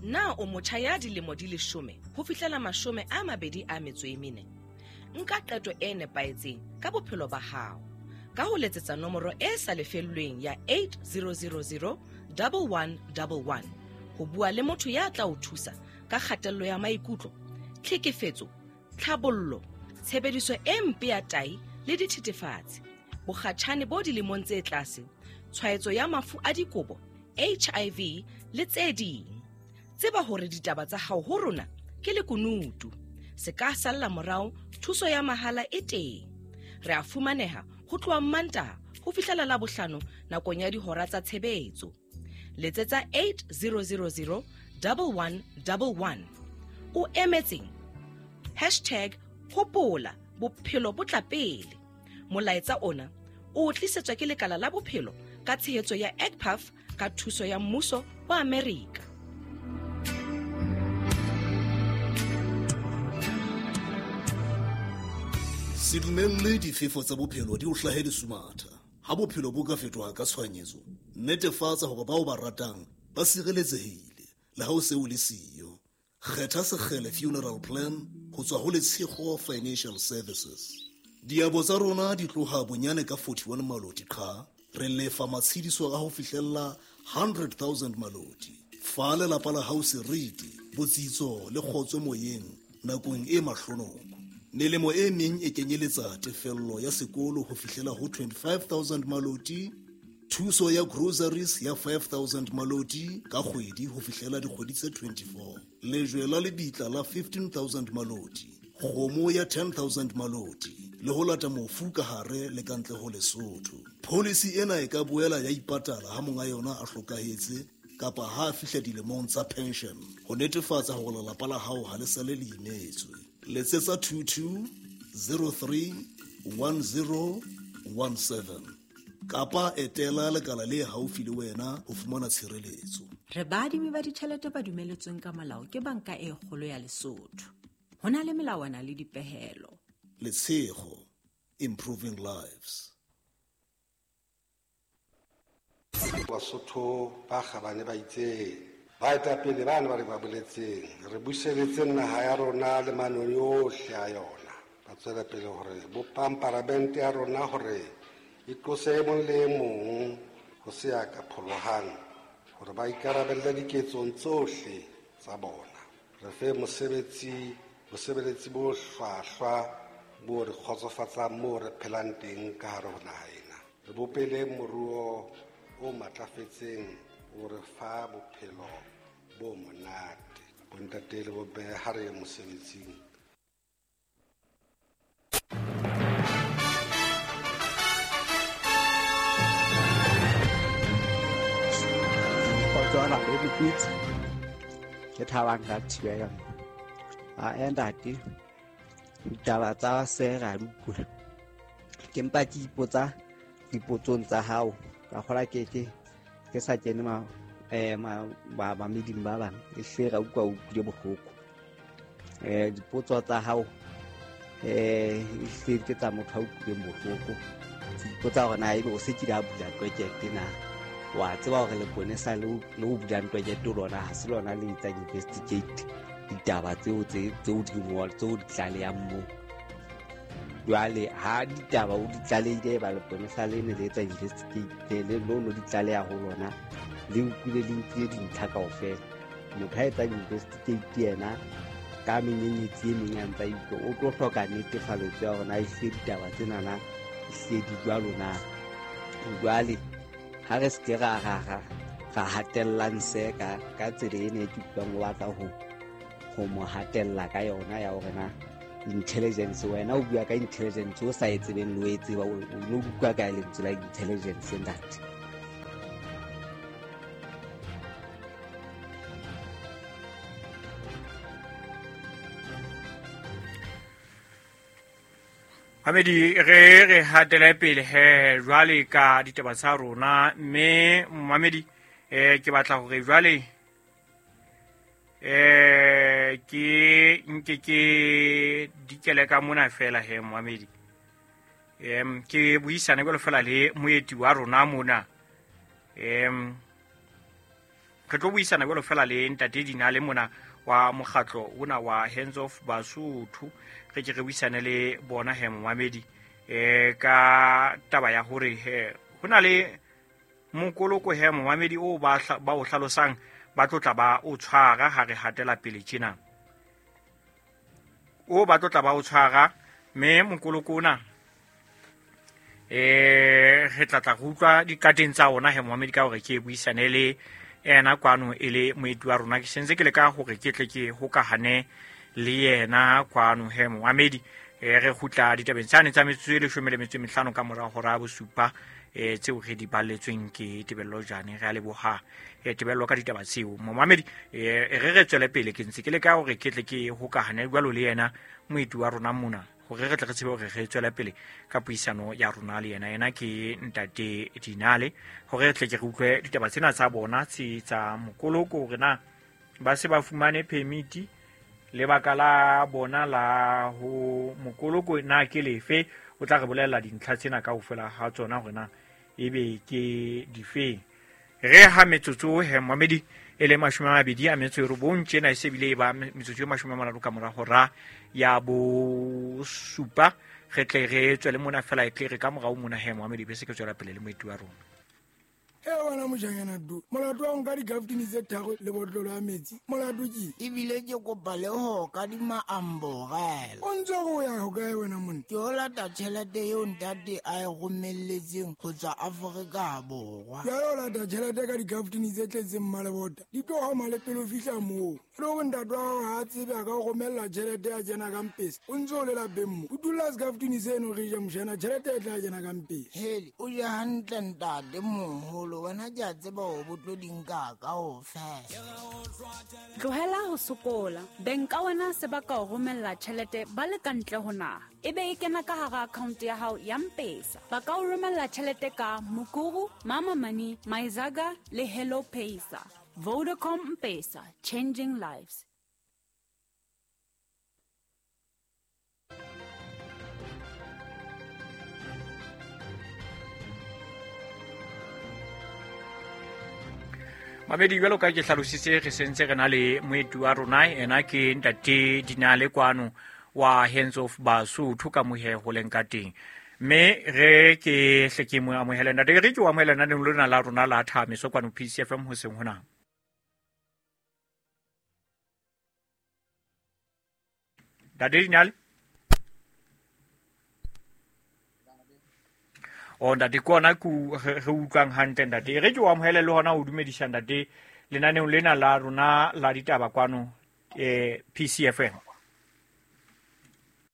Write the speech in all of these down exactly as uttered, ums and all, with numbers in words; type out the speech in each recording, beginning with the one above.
Na o motjha ya dilemo di leshome ho fihlela mashome a mabedi a metso e mene? Nka qeto e nepahetseng ka bophelo ba hao ka ho letsetsa nomoro e sa lefellweng ya eight zero zero zero double one double one ho bua le motho ya tla o thusa ka kgatello ya maikutlo, tlhekefetso, tlhabollo, tshebediso e mpe ya tahi le dithethefatsi, bokgatjhane bo dilemong tse tlase, tshwaetso ya mafu a dikobo, H I V le tse ding. Tseba hore ditaba tsa hao ho rona ke lekunutu. Se ka salla morao, thuso ya mahala e teng. Re a fumaneha ho tloha Mantaha ho fihlela Labohlano nakong ya dihora tsa tshebetso. Letsetsa eight zero zero zero double one double one. O emetseng? Hashtag hopola bophelo bo tla pele. Molaetsa ona o tlisetswa ke lekala la bophelo ka tshehetso ya E C P A F ka thuso ya mmuso wa Amerika. Se dumelle difefo tsa bophelo di o hlahe lesumatha. Ha bophelo bo ka fetoha ka tshohanyetso, netefatsa hore bao ba ratang ba sireletsehile le ha o se o le siyo. Kgetha Sekgele Funeral Plan ho tswa ho Letshego Financial Services. Diabo tsa rona di tloha bonyane ka forty-one maloti qha, re lefa matshediso a ho fihlella hundred thousand maloti. Fa lelapa la hao seriti, botsitso le kgotso moyeng nakong e mahlonoko. Melemo e meng e kenyeletsa tefello ya sekolo ho fihlela ho twenty-five thousand maloti, thuso ya groceries ya five thousand maloti ka kgwedi ho fihlela dikgwedi tse twenty-four, lejwe la lebitla la fifteen thousand maloti, kgomo ya ten thousand maloti le ho lata mofu ka hare le ka ntle ho Lesotho. Policy ena e ka boela ya ipatala ha monga yona a hlokahetse kapa ha a fihla dilemong tsa pension ho netefatsa hore lelapa la hao ha le sale le imetswe. Letsetsa two two zero three one zero one seven kapa etela lekala le haufi le wena ho fumana tshireletso. Re baadimi ba ditjhelete ba dumeletsweng ka molao ke Banka e Kgolo ya Lesotho. Ho na le melawana le dipehelo. Letshego, improving lives. Basotho ba kgabane ba itseng, baetapele bana ba re ba boletseng, re buseletse naha ya rona le manoni ohle a yona. Ba tswela pele hore bopang paramente ya rona hore e tlose e mong le e mong ho se ya ka pholohang, hore ba ikarabelle diketsong tsohle tsa bona. Re fe mosebetsi, bosebeletsi bo hlwahlwa bo re kgotsofatsang moo re phelang teng ka hare ho naha ena. Re bopele moruo o matlafetseng o re fa bophelo bo monate. Bontate le bomme ha re ye mosebetsing. Kgotso le dipitse. Ke Thabang ka Thibela. A ntate, ditaba tsa se ra di utlwa. Ke mpa ke ipotsa dipotsong tsa hao. Ka kgola ke ke ke sa kene ma eh ma ba ba meding ba bang e hle ra utlwa o utlwile bohloko. Eh dipotso tsa hao eh e hle ke tsa motho a utlwileng bohloko. Ke ipotsa hore na ebe o se kile a bula ntwekete na. Wa tseba hore leponesa le le o bulang ntwekete lona ha se lona le etsang investigate ditaba tseo tse tseo di ngol tseo di tlalehang moo. Jwale ha ditaba o di tlalehile ba leponesa le ne le etsa investigate le lo lo di tlaleha ho lona le utlwile le nkile dintlha kaofela. Motho ha etsa investigate yena ka menyenyetsi e meng a ntsa utlwa o tlo hloka netefaletso ya hore na ehlile ditaba tsenana ehlile di jwalo na. Jwale ha re se ke ra ra ra ra hatellang se ka ka tsela ena e ke utlwang o batla ho ho mo hatella ka yona ya hore na intelligence wena o bua ka intelligence o sa e tsebeng le o e tseba o no utlwa ka lentswe la intelligence ntate. Mamedi re re hatele pele he jwale ka ditaba tsa rona mme mamedi eh ke batla hore jwale eh ke nke ke dikele ka mona fela he mamedi em ke buisane jwalo fela le moeti wa rona mona em Re tlo buisana jwalo fela le ntate Dinale mona wa mokgatlo ona wa Hands Off Basotho. Re ke re buisane le bona he momamedi eh ka taba ya hore he ho na le mokoloko he momamedi o ba ba o hlalosang ba tlo tla ba o tshwara ha re hatela pele tjena. O ba tlo tla ba o tshwara mme mokoloko ona eh re tla tla go utlwa dikateng tsa ona he momamedi ka hore ke buisane le ena kwano e le moeti wa rona. Ke sentse ke le ka hore ke tle ke hokahane le yena kwano he momamedi. E re kgutla ditabeng tsane tsa metsotso e leshome le metso e mehlano ka mora hora ya bosupa eh tseo re di balletsweng ke Tebello Jane. Re a leboha eh Tebello ka ditaba tseo momamedi. Eh re re tswele pele, ke ntse ke le ka hore ke tle ke hokahane jwalo le yena moeti wa rona mona hore re tle re tsebe hore re tswele pele ka puisano ya rona le yena. Yena ke ntate Dinale, hore re tle ke re utlwe ditaba tsena tsa bona tse tsa mokoloko hore na ba se ba fumane permit, lebaka la bona la ho mokoloko na ke lefe. O tla re bolella dintlha tsena kaofela ha tsona hore na ebe ke difeng. Re ha metsotso he momamedi e le mashome a mabedi a metso e robong tjena, e se bile e ba metsotso e mashome a mararo ka mora hora ya bosupa. Re tle re tswele mona fela, e tle re ka morao mona he momamedi be se ke tswela pele le moeti wa rona. E wena mojanyana du molato wa nka dikaftini tse tharo le botlolo ya metsi molato ke ebile ke kopa le ho kadima amborela. O ntse go ya ho kae wena monna? Ke o lata tjhelete eo ntate a e romelletseng ho tswa Afrika Borwa. Jwale o lata tjhelete ka dikaftini tse tletseng mmalebota di tlo hama le pele o fihla moo. E le hore ntate wa hao ha a tsebe a ka o romella tjhelete ya kena ka mpesa, o ntse o le lapeng mo. O dula sekaftini seno re ja mojana, tjhelete e tla kena ka mpesa. Hele, o je hantle ntate moholo, wena ke a tseba hore bo tlo di nka kaofela. Tlohela ho sokola. Beng ka wena se ba ka o romella tjhelete ba le ka ntle ho naha, ebe e kena ka hara account ya hao ya M-Pesa. Ba ka o romella tjhelete ka Mukuru, Mama Money, Maizaga le Hello Pesa. Vodacom M-Pesa, changing lives. Mamedi, jwalo ka ke hlalositse, re sentse re na le moeti wa rona, ena ke ntate Dinale kwano wa Hands Off Basotho ka mohe ho leng ka teng. Mme re ke hle ke mo amohele ntate, re ke o amohele nna lona la rona la Thameso kwano P C F M hoseng hona. Ntate Dinale? O ntate ke ona ku re utlwang hantle ntate. Re ke o amohele le hona o dumedisa ntate lenaneong lena la rona la ditaba kwano eh P C F M.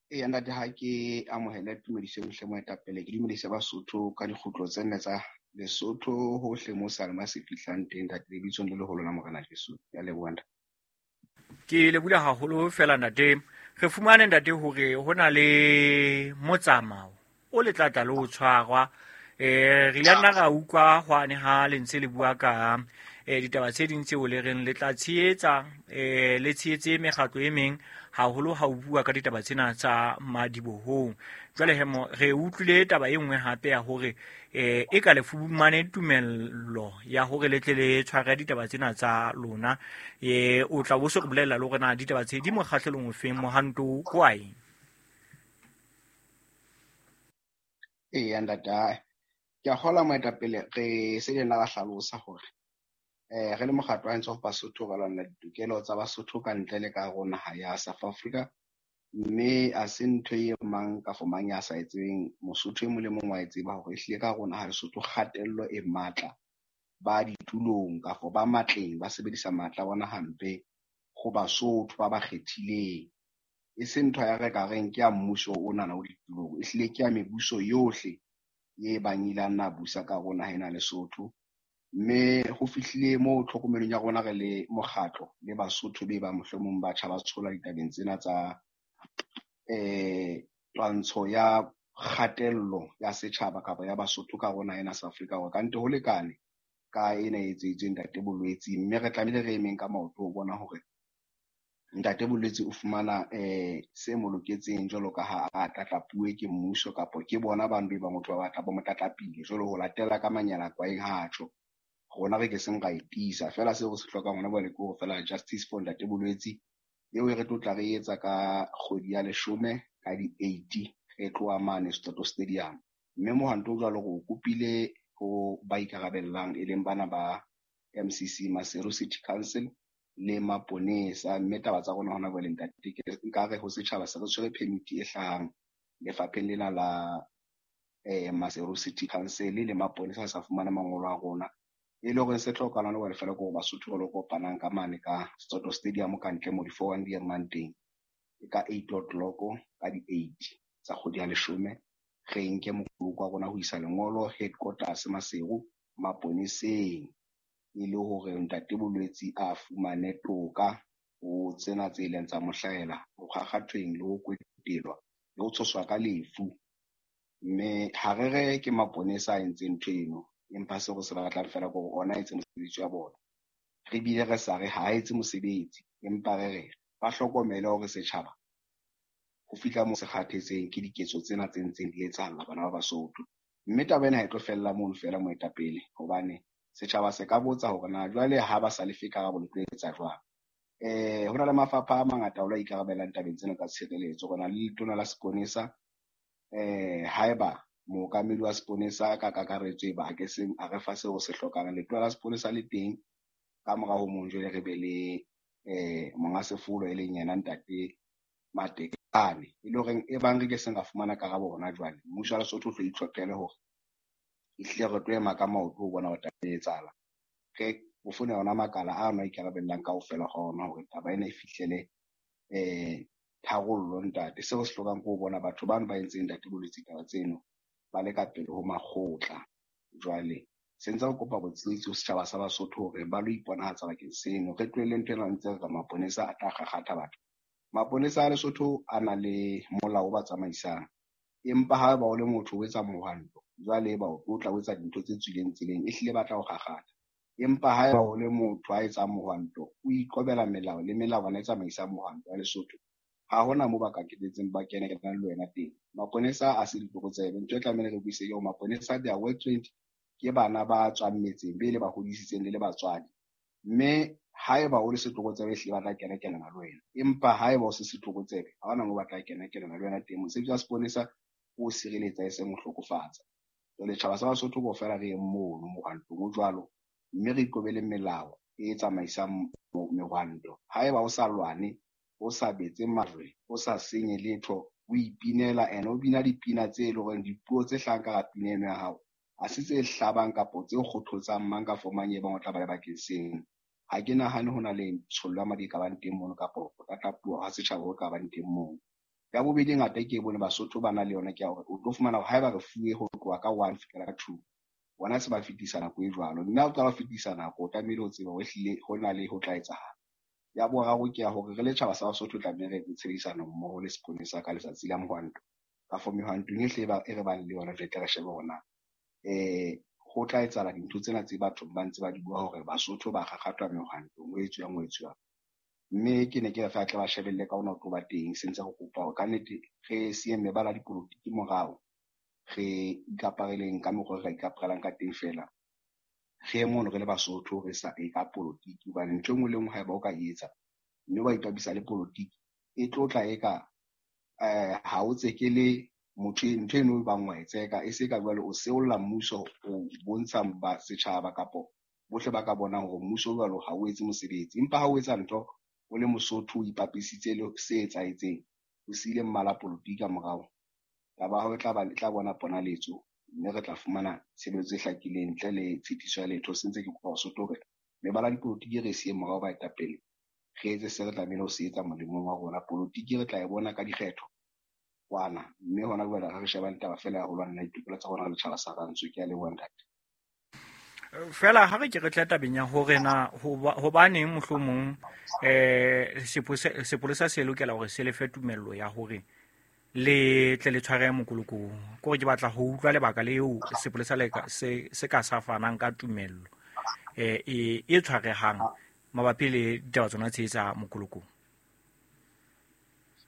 Eya ntate, ha ke amohele tumediso yohle moetapele, ke dumedisa Basotho ka dikgutlo tse nne tsa Lesotho hohle mo Salma se fihlang teng ntate, lebitsong le leholo la Morena Jesu. Ya leboha ntate. Ke leboha haholo fela ntate. Re fumane ntate hore ho na le motsamao o le tlatla le o tshwarwa. Eh re ile nna ra utlwa hwane ha le ntse le bua ka eh ditaba tse ding tseo le reng le tla tshehetsa eh le tshehetse mekgatlo e meng haholo ha o bua ka ditaba tsena tsa madibohong. Jwale he mo re utlwile taba e nngwe hape ya hore eh e ka le fumane tumello ya hore le tle le tshware ditaba tsena tsa lona. Eh o tla bo se re bolella le hore na ditaba tse di mokgahlelong o feng mohanto kwae. Eya ntate, ke a kgolwa moetapele re se le nna ra hlalosa hore eh re le mokgatlo wa Hands Off Basotho re lwanela ditokelo tsa Basotho ka ntle le ka hare ho naha ya South Africa, mme a se ntho e mang kafo mang ya sa e tsebeng. Mosotho e mong le mong wa e tseba hore ehlile ka hare ho naha Lesotho kgatello e matla ba ditulong kafo ba matleng ba sebedisa matla a bona hampe ho Basotho ba ba kgethileng. E se ntho ya re ka reng ke ya mmuso onana o ditulong, ehlile ke ya mebuso yohle e bang ile a nna busa ka hare ho naha ena Lesotho. Mme ho fihlile moo tlhokomelong ya rona re le mokgatlo le Basotho be ba mohlomong batjha ba tshola ditabeng tsena tsa eh twantsho ya kgatello ya setjhaba kapa ya Basotho ka hare ho naha ena South Africa, hore kante ho lekane ka ena e etseditsweng ntate Bolwetse. Mme re tlamehile re emeng ka maoto ho bona hore ntate Bolwetse o fumana eh se mo loketseng jwalo ka ha a tlatlapuwe ke mmuso kapa ke bona bantu ba motho ba batla ba mo tlatlapile jwalo ho latela ka manyala kwaeng ha tjho. Rona re ke seng ra e tiisa feela seo re se hlokang hona jwale ke hore feela justice for Ntate Bolwetse eo e re tlo tla re etsa ka kgwedi ya leshome ka di-eight re tloha mane Soweto Stadium. Mme mohwanto o jwalo re o kopile ho ba ikarabellang e leng bana ba M C C Maseru City Council le maponesa. Mme taba tsa rona hona jwale ntate ke nkare ho setjhaba se re tshwere permit e hlahang lefapheng lena la eh Maseru City Council le maponesa sa fumana mangolo a rona. E le hore se hlokahalang hore feela ke hore Basotho ba lo kopanang ka mane ka Soweto Stadium ka ntle mo di-four one di emang teng ka eight o'clock ka di-eight tsa kgwedi ya leshome. Re nke mokoloko wa rona ho isa lengolo headquarters Maseru maponeseng e le hore Ntate Bolwetse a fumane toka ho tsena tse ileng tsa mo hlahela ho kgakgathweng le ho kwetelwa le ho tshoswa ka lefu. Mme ha re re ke maponesa a entseng ntho eno, empa seo re se batlang feela ke hore ona a etse mosebetsi wa bona. Re bile re sa re ha a etse mosebetsi, empa re re ba hlokomele hore setjhaba ho fihla moo se kgathetseng ke diketso tsena tse ntseng di etsahala bana ba Basotho. Mme taba ena ha e tlo fella mono feela moetapele, hobane setjhaba se ka botsa hore na jwale ha ba sa lefe karabo le tlo etsa jwang. Eh ho na le mafapha a mangata a lo ikarabellang tabeng tsena tsa tshireletso. Re na le letona la seponesa, eh haeba mookamedi wa seponesa ka kakaretso e ba ke seng a re fa seo se hlokang, letona la seponesa le teng. Ka mora ho mong jwale re be le eh monga sefolo e leng yena Ntate Matekane, e le horeng e bang re ke seng ra fumana karabo hona jwale, mmuso wa Lesotho o tlo itlhophele hore ehlile re tlo ema ka maoto ho bona hore taba e etsahala. Re ho fone yona makala a no ikarabellang kaofela ga ona hore taba ena e fihlele eh tharollo ntate. Seo se hlokang ke ho bona batho bano ba entseng Ntate Bolwetse taba tseno ba le ka pele ho makgotla. Jwale se ntse re kopa botshehetsi ho setjhaba sa Basotho hore ba lo iponahatsa bakeng seno. Re tlohelle ntho ena ntse re re maponesa a tla kgakgatha batho. Maponesa a Lesotho a na le molao o ba tsamaisang, empa ha ba o le motho o etsa mohwanto jwale ba o tlotla o etsa dintho tse tswileng tseleng, ehlile ba tla o kgakgatha. Empa ha ba o le motho a etsang mohwanto o ikobela melao le melawana e tsamaisang mohwanto wa Lesotho, ha hona moo ba ka ketetseng ba kena kenang le wena teng. Maponesa a se ditlokotsebe. Ntho e tlamehile re buise ke hore maponesa they are well trained, ke bana ba tswang metseng be le ba hodisitseng le le batswadi. Mme haeba o le setlokotsebe ehlile ba tla kena kenana le wena, empa haeba o se setlokotsebe ha hona moo ba tla kena kenana le wena teng. Mosebetsi wa seponesa o sireletsa e seng ho hlokofatsa. Jwale tjhaba sa Basotho kaofela re yeng mono mohwantong o jwalo, mme re ikobele melao e tsamaisang mehwanto. Haeba o sa lwane, o sa betse majwe, o sa senye letho, o ipinela ene o bina dipina tse e leng hore dipuo tse hlahang ka hara pina eno ya hao ha se tse hlabang kapo tse kgothotsang mang kapa mang e bang o tla ba le bakeng seno. Ha ke nahane ho na le tshollo ya madi e ka bang teng mono kapo ho tlatlapuwa ha setjhaba ho ka bang teng mono. Ya bobedi e ngata e ke e bone Basotho ba na le yona ke ya hore o tlo fumana hore haeba re fuwe ho tloha ka one fihlela ka two, bona se ba fetisa nako e jwalo. Mme ha o qala ho fetisa nako, o tlamehile ho tseba hore ehlile ho na le ho tla etsahala. Ya boraro ke ya hore re le tjhaba sa Basotho tlamehile re etse tshebedisano mmoho le seponesa ka letsatsi la mohwanto. Ka for mehwantong ehle e ba e re bang le yona, re tle re shebe hore na eh ho tla etsahala dintho tsena tse batho ba ntse ba di bua hore Basotho ba kgakgathwa mehwantong, ho etsuwang, ho etsuwang. Mme ke ne ke re feela tle ba shebelle ka ona ho tlo ba teng. Se ntse re kopa hore kannete re siye mebala ya dipolotiki morao, re ikapareleng ka mokgwa re ka ikaparelang ka teng feela. Re ye mono re le Basotho re sa e ka polotiki, hobane ntho e nngwe le nngwe haeba o ka e etsa mme wa ipapisa le polotiki, e tlo tla e ka eh ha o tsekele motho ntho eno e bang wa e tseka, e se ka jwale o seolla mmuso, o bontsha ba setjhaba kapo bohle ba ka bonang hore mmuso jwalo ha o etse mosebetsi. Empa ha o etsa ntho o le Mosotho o ipapisitse le se etsahetseng, o siile mmala polotiki ka morao, taba ya hao e tla ba, e tla bona ponaletso, mme re tla fumana tshebeletso e hlakileng ntle le tshitiso ya letho. Se ntse ke kopa Basotho hore mebala ya dipolotiki re e siye morao baetapele, re etse se re tlamehile ho se etsa molemong wa rona. Polotiki re tla e bona ka dikgetho kwana, mme hona jwale ha re shebane taba feela ya ho lwanela ditokelo tsa rona le tjhaba sa rantsho. Ke a leboha ntate. Feela ha re ke re tla tabeng ya hore na hobaneng mohlomong eh sepolesa se lokela hore se lefe tumello ya hore le tle le tshware mokolokong. Ke hore ke batla ho utlwa lebaka leo sepolesa le se se ka sa fanang ka tumello eh e e tshwarehang mabapi le ditaba tsona tse tsa mokolokong.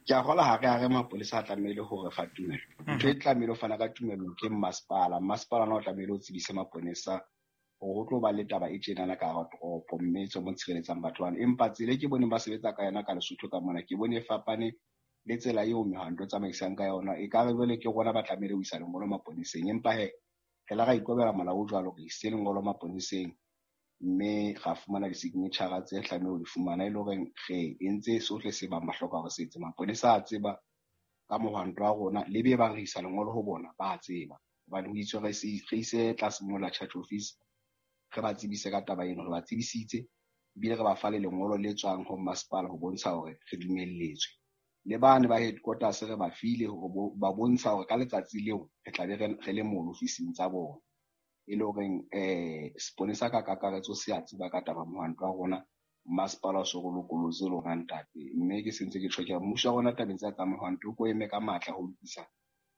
Ke a kgolwa ha re a re mapolesa a tlamehile hore fa tumello. Ntho e tlamehile ho fana ka tumello ke mmasepala. Mmasepala ona o tlamehile o tsebise maponesa Hore ho tlo ba le taba e tjenana ka hara toropo mme tswe mo tshireletsang batho bana. Empa tsela e ke boneng ba sebetsa ka yona ka Lesotho ka mona, ke bone e fapane le tsela eo mehwanto e tsamaisang ka yona. Ekare jwale ke rona ba tlamehile ho isa lengolo maponeseng, empa he re la ra ikobela molao o jwalo, re isitse lengolo maponeseng mme ra fumana di-signature tse tlamehile ho di fumana, e le horeng re entse sohle se bang ba hloka hore se etse. Maponesa a tseba ka mohwanto wa rona, le be bang re isa lengolo ho bona ba a tseba, hobane ho itswe re ise tlase mola church office, re ba tsebise ka taba eno. Re ba tsebisitse ebile re ba fa le lengolo le tswang ho masepala ho bontsha hore re dumelletswe. Le bane ba headquarters re ba file hore ba bontsha hore ka letsatsi leo re tla be re le mono ofising tsa bona, e le horeng eh seponesa ka kakaretso se a tseba ka taba mohwanto wa rona. Masepala o so re lokolotse lona ntate, mme ke sentse ke tjho ke re mmuso wa rona tabeng tsa tsa mohwanto o ko eme ka matla ho lokisa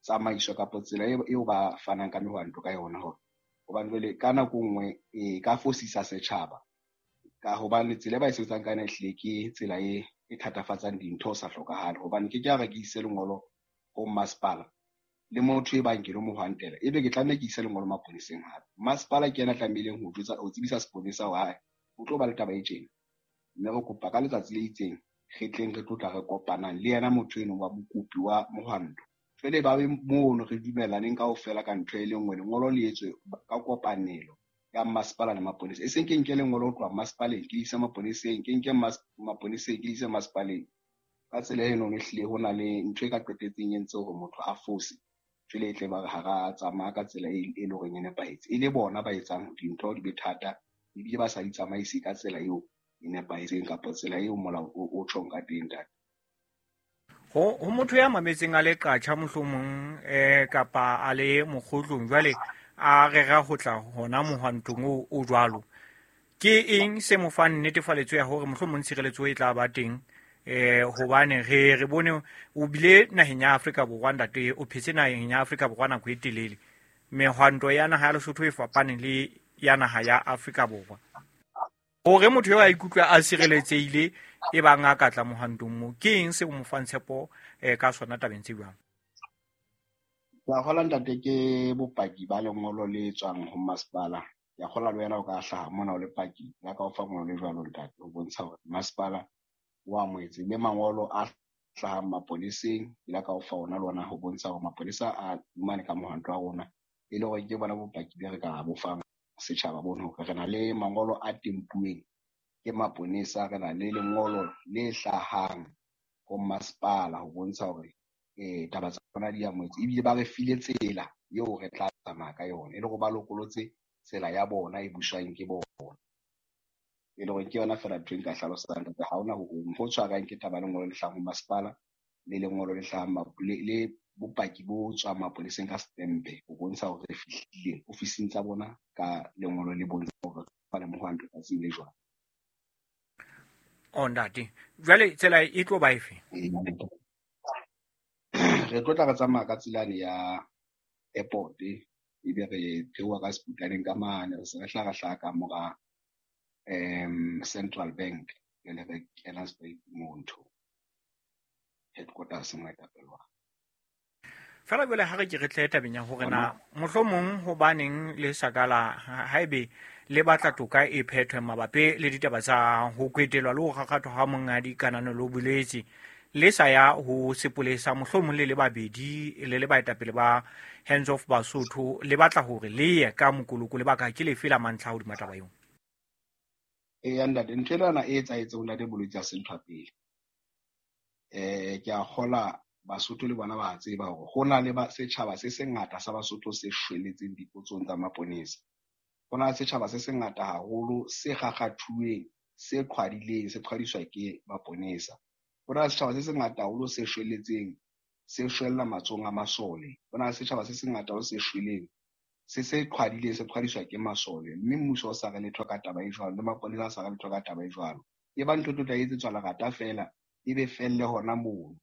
tsamaiso kapa tsela eo ba fanang ka mehwanto ka yona, hore hobane jwale ka nako nngwe e ka fosisa setjhaba, ka hobane tsela e ba e sebetsang ka yona ehlile ke tsela e e thatafatsang dintho ho sa hlokahale. Hobane ke ke a re ke ise lengolo ho masepala le motho e bang ke lo mohwantela, ebe ke tlameha ke ise lengolo maponeseng hape. Masepala ke yena a tlamehileng ho jwetsa, ho tsebisa seponesa hore hae ho tlo ba le taba e tjena, mme re kopa ka letsatsi le itseng re tleng re tlo tla re kopanang le yena motho eno wa mokopi wa mohwanto. Jwale ba be mono re dumellaneng kaofela ka ntho e le nngwe, lengolo le etswe ka kopanelo ya masepala le maponesa. E seng ke nke lengolo ho tloha masepaleng ke ise maponeseng, ke nke maponeseng ke ise masepaleng. Ka tsela eno ehlile ho na le ntho e ka qetetseng e entse hore motho a fose, jwale e tle ba re ha ra tsamaya ka tsela e leng horeng e nepahetse, e le bona ba etsang dintho di be thata ebile ba sa di tsamaise ka tsela eo e nepahetseng kapa tsela eo molao o tjhong ka teng ntate. Ho ho motho ya mametseng a le qatjha mohlomong eh kapa a le mokgotlong jwale a rera ho tla hona mohwantong o o jwalo, ke eng se mo fang netefaletso ya hore mohlomong tshireletso e tla ba teng? Eh hobane re re bone o bile naheng ya Afrika Borwa ntate, o phetse naheng ya Afrika Borwa nako e telele, mehwanto ya naha ya Lesotho e fapane le ya naha ya Afrika Borwa. Hore motho eo a ikutlwe a sireletsehile e bang a ka tla mohwantong mo, ke eng se o mo fang tshepo eh ka sona tabeng tse jwang? Ke a kgolwa ntate ke bopaki ba lengolo le tswang ho masepala. Ke a kgolwa le wena o ka hlaha mona o le paki ya ka o fa ngolo le jwalo ntate, ho bontsha hore masepala o amohetse le mangolo a hlahang maponeseng, ke la ka o fa ona le ona ho bontsha hore maponesa a fumane ka mohwanto wa rona, e le hore ke bona bopaki be re ka bo fang setjhaba bono, hore re na le mangolo a tempuweng ke maponesa, re na le lengolo le hlahang ho masepala ho bontsha hore eh taba tsa rona di amohetse, ebile ba re file tsela eo re tla tsamaya ka yona, e le hore ba lokolotse tsela ya bona e buswang ke bona. E le hore ke yona feela ntho e nka hlalosang ntate, ha hona ho hong ho tshwarang ke taba lengolo le hlahang ho masepala le lengolo le hlahang le le bopaki bo tswang maponeseng ka stempe ho bontsha hore re fihlile ofising tsa bona ka lengolo le bontsha hore ba le mohwanto tsatsing le jwang. O ntate, jwale tsela e tlo ba efe? Re tlo tla re tsamaya ka tselane ya airport, ebe re theoha ka Seputaneng ka mane, re se re hla re hlaha ka mora um Central Bank, jwale re kena straight moo ntho headquarters moetapele wa. Fela jwale ha re ke re tle tabeng ya hore na mohlomong hobaneng le sa ka la haebe le batla toka e phethwe mabapi le ditaba tsa ho kwetelwa le ho kgakgathwa ha monghadi Kananelo Bolwetse, le sa ya ho sepolesa mohlomong le le babedi le le baetapele ba Hands Off Basotho, le batla hore le ye ka mokoloko, lebaka ke lefe la mantlha hodima taba eo? Eya ntate, ntho ena e etsahetseng ho ntate Bolwetse ha se ntho ya pele. Eh ke a kgola Basotho le bona ba tseba hore ho na le ba setjhaba se sengata sa Basotho se shweletseng dipotsong tsa maponesa. Ho na le setjhaba se sengata haholo se kgakgathuweng, se qhwadileng, se qhwadiswa ke maponesa. Ho na le setjhaba se sengata haholo se shweletseng, se shwella matsohong a masole. Ho na le setjhaba se sengata haholo se shweleng, se se qhwadileng, se qhwadiswa ke masole. Mme mmuso o sa re letho ka taba e jwalo, le maponesa a sa re letho ka taba e jwalo. E ba ntho e tlo tla etsetswa lerata feela, e be felle hona mono.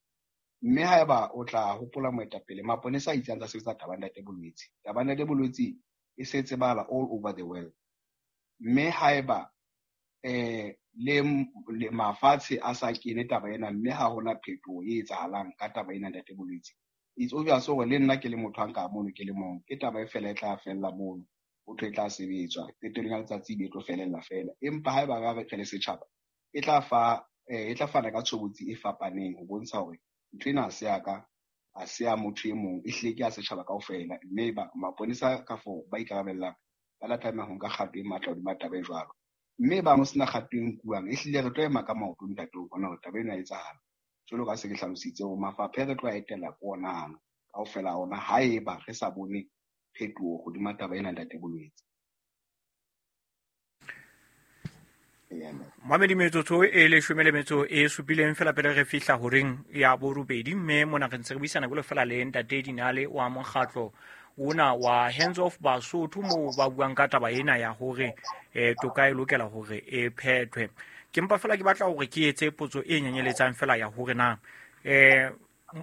Mme haeba o tla hopola moetapele, maponesa a itse a ntse a sebetsa taba ntate Bolwetse. Taba ntate Bolwetse e se tsebala all over the world. Mme haeba eh le mafatshe a sa kene taba ena, mme ha hona phetoho e etsahalang ka taba ena ntate Bolwetse, it's obvious hore le nna ke le motho a nka mono ke le mong, ke taba e fela e tla fella mono. ho thwe e tla sebetswa qetellong ya letsatsi e be e tlo felella feela. Empa haeba ra re le setjhaba e tla fa e tla fana ka tshobotsi e fapaneng ho bontsha hore ntho ena ha se ya ka, ha se ya motho e mong, ehlile ke ya setjhaba kaofela. Mme ba maponesa kafo ba ikarabellang ba tla tlameha ho nka kgato e matla hodima taba e jwalo. Mme ba ho sena kgato e nkuwang, ehlile re tlo ema ka maoto ntate ho bona hore taba ena e etsahala. Jwalo ka se ke hlalositse hore mafapha re tlo a etela ke ona ano kaofela ona haeba re sa bone phetoho hodima taba ena ntate Bolwetse. Mamedi metsotso e leshome le metso e supileng fela pele re fihla horeng ya borobedi, mme mona re ntse re buisana jwalo fela le ntate Dinale wa mokgatlo ona wa Hands Off Basotho, moo ba buang ka taba ena ya hore eh toka e lokela hore e phethwe. Ke mpa fela ke batla hore ke etse potso e nyenyeletsang fela ya hore na eh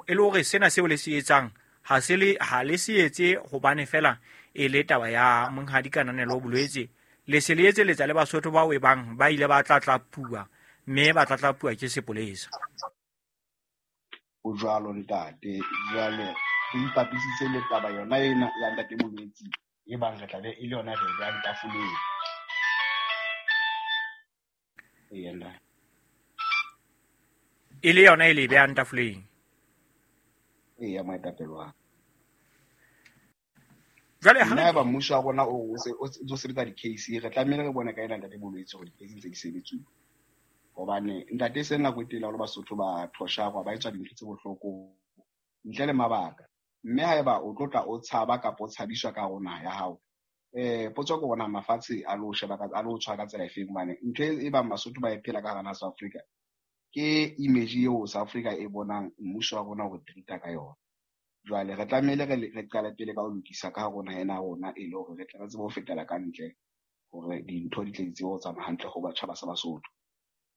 e le hore sena seo le se etsang ha se le ha le se etse hobane fela e le taba ya monghadi Kananelo Bolwetse, le se le etseletsa le Basotho bao e bang ba ile ba tlatlapuwa mme ba tlatlapuwa ke sepolesa. O jwalo ntate, jwale re ipapisitse le taba yona ena ya ntate Bolwetse e bang re tla be e le yona re behang tafoleng. Eya, e le yona e le behang tafoleng. Eya, moetapele wa jwale ha nna ba mmuso wa rona o o sebetsa di-case, re tlamehile re bone ka ena ntate Bolwetse hore di-case ntse di sebetsuwa. Hobane ntate se nako e telele haholo Basotho ba thosharwa, ba etswa dintho tse bohloko ntle le mabaka. Mme haeba o tlo tla o tshaba kapa o tshabiswa ka hare ho naha ya hao, eh potso ke hore na mafatshe a lo sheba ka a lo tshwara ka tsela efeng, hobane ntho e bang Basotho ba e phela ka hara naha South Africa ke image eo South Africa e bonang mmuso wa rona o re treat-a ka yona. Jwale re tlamehile re re qale pele ka ho lokisa ka hare ho naha ena ya rona, e le hore re tle re tsebe ho fetela ka ntle hore dintho di tle di tsebe ho tsamaya hantle ho batjha ba sa Basotho.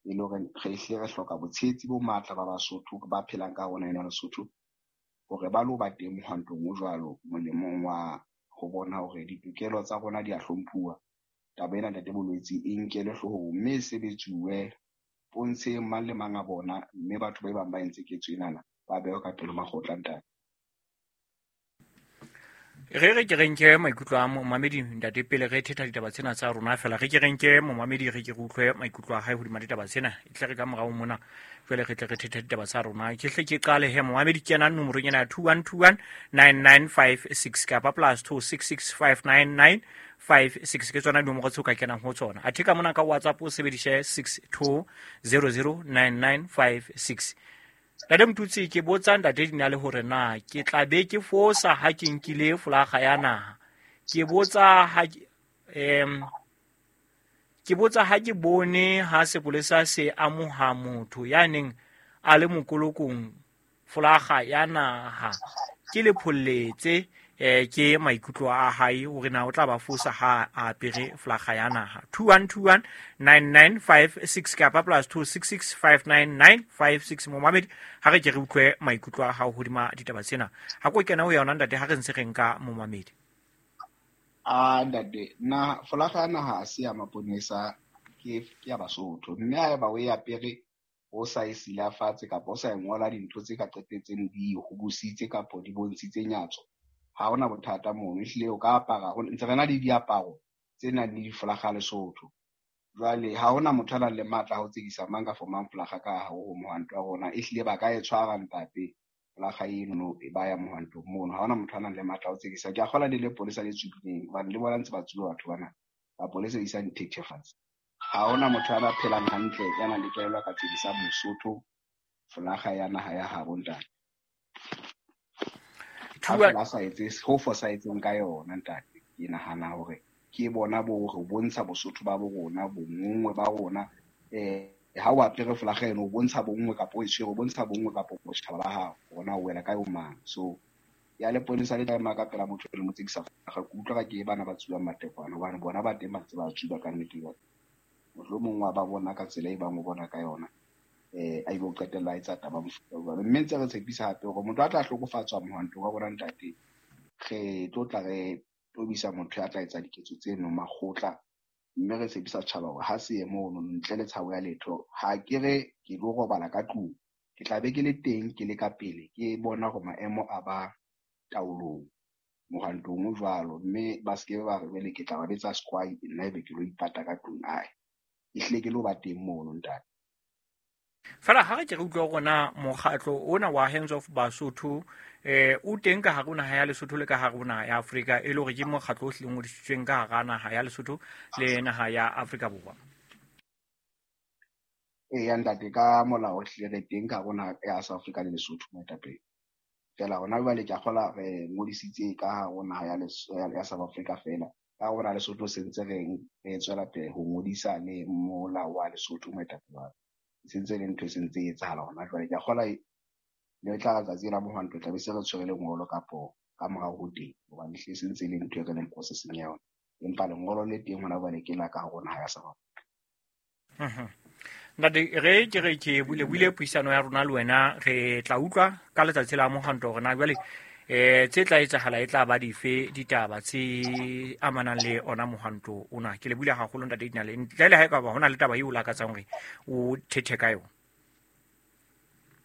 E le hore re hle re hloka botshehetsi bo matla ba Basotho ba phelang ka hare ho naha ena ya Lesotho hore ba lo ba teng mohwantong o jwalo molemong wa ho bona hore ditokelo tsa rona di a hlomphuwa. Taba ena ntate Bolwetse e nkelwe hloohong mme e sebetsuwe pontsheng mang le mang a bona, mme batho ba bang ba entse ketso enana ba behwe ka pele makgotla ntate. Re re ke re nke maikutlo a momamedi ntate pele re thetha ditaba tsena tsa rona fela, re ke re nke momamedi re ke re utlwe maikutlo a hae hodima ditaba tsena, e tle re ka morao mona jwale re tle re thetha ditaba tsa rona. Ke hle ke qale he momamedi kena nomorong ena ya two one two one nine nine five six kapa plus two six six five nine nine five six, ke tsona dinomoro tseo ka kenang ho tsona. Athe ka mona ka WhatsApp o sebedise six two zero zero nine nine five six. Ntate Motutsi, ke botsa ntate Dinale hore na ke tla be ke fosa ha ke nkile folaga ya naha. Ke botsa ha em ke botsa ha ke bone ha sepolesa se amoha motho ya neng a le mokolokong folaga ya naha, ke le pholletse eh ke maikutlo a hae hore na o tla ba fosa ha a apere folaga ya naha. two one two one nine nine five six kapa plus two six six five nine nine five six. Momamedi ha re ke re utlwe maikutlo a hao hodima ditaba tsena. Ha ko kena ho yona ntate ha re ntse re nka momamedi. A ntate, na folaga ya naha ha se ya maponesa, ke ke ya Basotho. Mme haeba o e apere o sa e silafatse kapa o sa e ngola dintho tse ka qetetseng di hobositse kapa di bontshitse nyatso, ha hona bothata mono. Ehlile o ka apara, ntse re na le diaparo tse nang le difolaga Lesotho. Jwale ha hona motho a nang le matla a ho tsekisa mang kapa mang folaga ka hare ho mohwanto wa rona. Ehlile ba ka e tshwara ntate folaga eno ba ya mohwantong mono. Ha hona motho a nang le matla a ho tsekisa. Ke a kgolwa le lepolesa le tsubileng hobane le bona ntse ba tsuba batho bana. Mapolesa a isa dithethefatsi. Ha hona motho a phelang hantle ya nang le kelello a ka tsekisa Mosotho folaga ya naha ya habo ntate. Ha fela sa etse ho fosahetseng ka yona ntate, ke nahana hore ke bona bo re bontsha Bosotho ba bo rona, bonngwe ba rona. Eh ha o apere folaga eno o bontsha bonngwe kapa o e tshwere o bontsha bonngwe kapa botjhaba ba hao, hore na o wela kae o mang. So ya leponesa le tla ema ka pela motho le mo tsekisa folaga, ke utlwa ka ke bana ba tsubang matekwane hobane bona ba teng ba ntse ba tsuba ka nnete. Mohlomong wa ba bona ka tsela e bang o bona ka yona, eh a ibo qetella a etsa taba mofuta o jwalo. Mme ntse re tshepisa hape hore motho a tla hlokofatswa mohwantong wa rona ntate, re tlo tla re tobisa motho ya tla etsa diketso tseno makgotla. Mme re tshepisa setjhaba hore ha se ye mono ntle le tshabo ya letho, ha ke re ke lo robala ka tlung, ke tla be ke le teng, ke le ka pele, ke bona hore maemo a ba taolong. Mohwantong o jwalo, mme ba se ke ba re jwale ke tla ba betsa squai nna ebe ke lo ipata ka tlung ae. Ehlile ke lo ba teng mono ntate. Fela ha re ke re utlwa hore na mokgatlo ona wa Hands Off Basotho eh o teng ka hare ho naha ya Lesotho le ka hare ho naha ya Afrika, e le hore ke mokgatlo o hlileng ngodisitsweng ka hara naha ya Lesotho le naha ya Afrika Borwa. Eya ntate, ka molao hlile re teng ka hare ho naha ya South Africa le Lesotho moetapele. Fela hona jwale ke a kgola re ngodisitse ka hare ho naha ya ya South Africa fela. Ka hare ho naha Lesotho se ntse re re tswela pele ho ngodisa le molao wa Lesotho moetapele wa ka. Se ntse le ntho e sentse e etsahala hona jwale. Ke a kgola le tla letsatsi la mohwanto tla be se re tshwere lengolo kapo ka morao ho teng, hobane ehlile se ntse e le ntho e re leng processing ya yona. Empa lengolo le teng hona jwale ke la ka hare ho naha ya South Africa. Mhm. Ntate, re ke re ke bule buile puisano ya rona le wena, re tla utlwa ka letsatsi la mohwanto hore na jwale eh tse tla etsahala e tla ba dife ditaba tse amanang le ona mohwanto ona. Ke le buile haholo ntate Dinale, ntle le ha e ka ba hona le taba eo o lakatsang hore o thethe ka yona.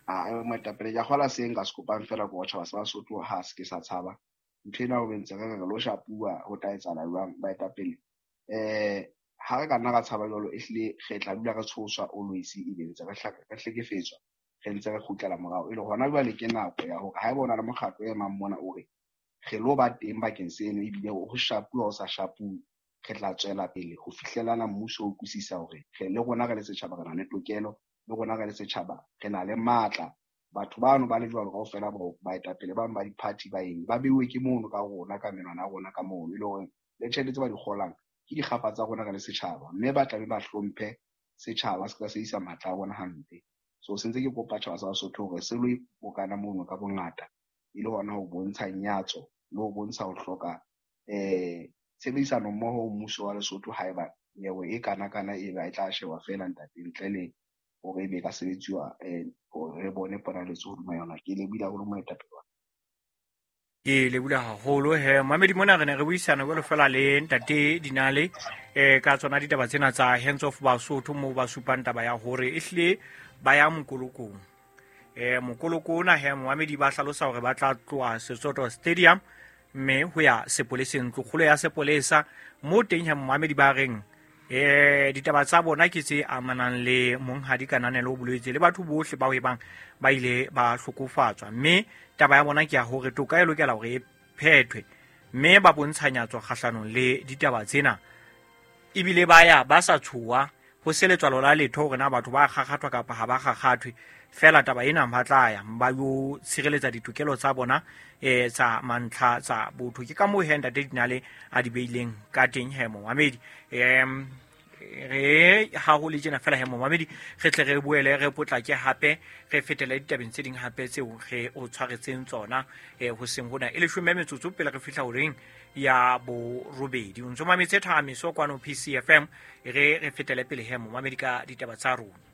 Ah, moetapele, ke a kgola se nka se kopang fela ke hore tjhaba sa Basotho ha se ke sa tshaba. Ntho ena ho ntse re re lo shapuwa ho tla etsahala jwang baetapele. Eh ha re ka nna ra tshaba jwalo, ehlile re tla dula re tshoswa always, ebe ntse re re hlekefetswa, re ntse re kgutlela morao. E le hona jwale ke nako ya hore haeba o na le mokgatlo o emang mona o re re lo ba teng bakeng seno, ebile ho shapuwa ho sa shapuwe, re tla tswela pele ho fihlelana mmuso o utlwisisa hore re le rona re le setjhaba re na le tokelo, le rona re le setjhaba re na le matla. Batho bano ba le jwalo kaofela bao baetapele bang ba di-party ba eng ba beuwe ke mono ka rona ka menwana ya rona ka mono, e le hore le tjhelete tse ba di kgolang ke dikgapa tsa rona re le setjhaba, mme ba tlabe ba hlomphe setjhaba se ka se isa matla a bona hampe. So se ntse ke kopa tjhaba sa Basotho hore se lo bokana mono ka bongata, e le hona ho bontsha nyatso le ho bontsha ho hloka eh tshebedisano mmoho ho mmuso wa Lesotho haeba nyewe e kana kana e ba e tla shewa fela ntate, ntle le hore ebe e ka sebetsiwa eh hore re bone ponaletso hodima yona. Ke lebohile haholo moetapele wa. Ke lebohile haholo he mamedi mona re ne re buisana jwalo fela le ntate Dinale eh ka tsona ditaba tsena tsa Hands Off Basotho, moo ba supang taba ya hore ehlile ba ya mokolokong. Eh mokoloko ona he mamedi ba hlalosa hore ba tla tloha Sesotho Stadium mme ho ya sepoleseng, ntlokgolo ya sepolesa mo teng he mamedi ba reng eh ditaba tsa bona ke tse amanang le monghadi Kananelo Bolwetse le batho bohle ba ebang ba ile ba hlokofatswa, mme taba ya bona ke ya hore toka e lokela hore e phethwe, mme ba bontshanyatso kgahlanong le ditaba tsena, ebile ba ya ba sa tshoha ho se letswalo la letho hore na batho ba kgakgathwa kapa ha ba kgakgathwe. Fela taba ena ba tla ya ba yo tshireletsa ditokelo tsa bona eh tsa mantlha tsa botho. Ke ka moo he ntate Dinale a di beileng ka teng he momamedi. Em re ha ho le tjena fela he momamedi, re tle re boele re potlake hape re fetele ditabeng tse ding hape tseo re o tshwaretseng tsona eh ho seng hona e leshome metsotso pele re fihla horeng ya borobedi. O ntso mametse Thahamiso kwano P C F M, re re fetele pele he momamedi ka ditaba tsa rona.